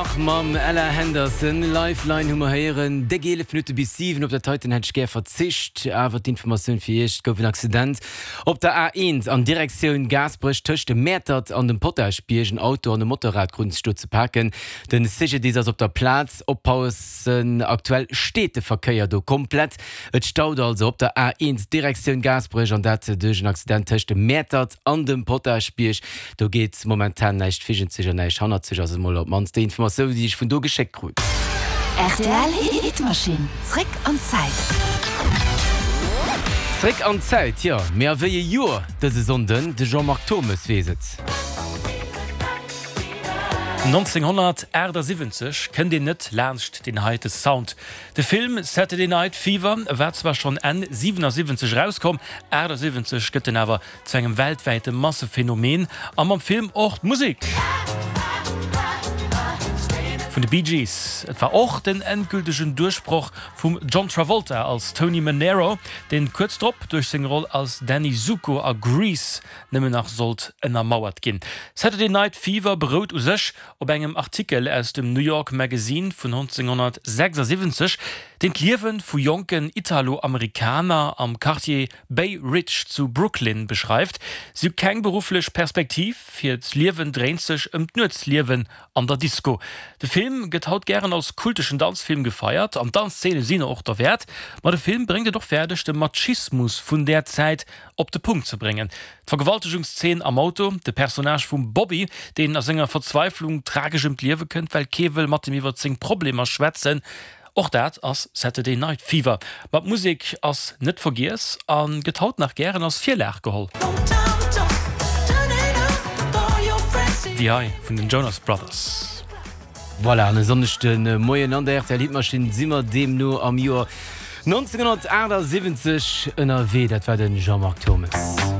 Bach mam Ella Henderson. Lifeline hu mer héieren. Déck 11 Minutte bis 7. Op dat heiten hätt ech gär verzicht, awer d'Informatioun fir Iech, Et gouf en Accident op der A1 an Direktioun Gaasperech tëscht dem Mäertert an dem Potaschbierg. En Auto an e Motorrad kruten sech do ze paken. De CGDIS ass op der Plaz. Oppassen, aktuell steet de Verkéier do komplett. Et staut also op der A1 Direktioun Gaasperech an dat duerch en Accident tëscht dem Mäertert an dem Potaschbierg. Do geet momentan näischt virgenzeg an näischt hannerzeg, ass emol op d'mannst déi Informatioun, déi ech vun do geschéckt krut. Rtl Hitmachine, zréck an d'Zäit. Zréck an d'Zäit, jo, mee a wéi e Joer dëse Sonnden? De Jean-Marc Thommes weess et. 1978 kënnt een net laanscht deen heite Sound. De Film Saturday Night Fever war zwar schonn Enn 77 erauskomm, 78 gëtt en awer zu engem weltwäite Massephänomen a mam Film och d'Musek vun de Bee Gees. Et war och den endgültegen Duerchbroch vum John Travolta als Tony Manero, deen kuerz drop duerch seng Roll als Danny Zuko a Grease nëmmen nach sollt ënnermauert ginn. Saturday Night Fever berout u sech op engem Artikel aus dem New York Magazine vun 1976, deen d'Liewe vu jonken Italo-Amerikaner am Quartier Bay Ridge zu Brooklyn beschreift. Si hu keng berufflech Perspektiv, hiert Liewen dréint sech ëm d'Nuetsliewen an der Disco. De Film gëtt haut gären als kulteschen Danzfilm gefeiert an d'Danzzeene sinn och derwäert. Ma de Film bréngt et och fäerdeg, de Machismus vun där Zäit op de Punkt ze bréngen. D'Vergewaltegungszeen am Auto, de Personnage vum Bobby, deen a senger Verzweiflung tragesch ëm d'Liewe kënnt, well kee wëll mat him iwwer seng Problemer schwätzen, och dat ass Saturday Night Fever. Ma d'Musek ass net vergiess a gëtt haut nach gären als Virlag geholl. Déi hei vun den Jonas Brothers. Voilà, an e Sonndeg de Moien an der rtl Hitmaschinn si mer deemno am Joer 1978 ënnerwee. Dat war de Jean-Marc Thommes.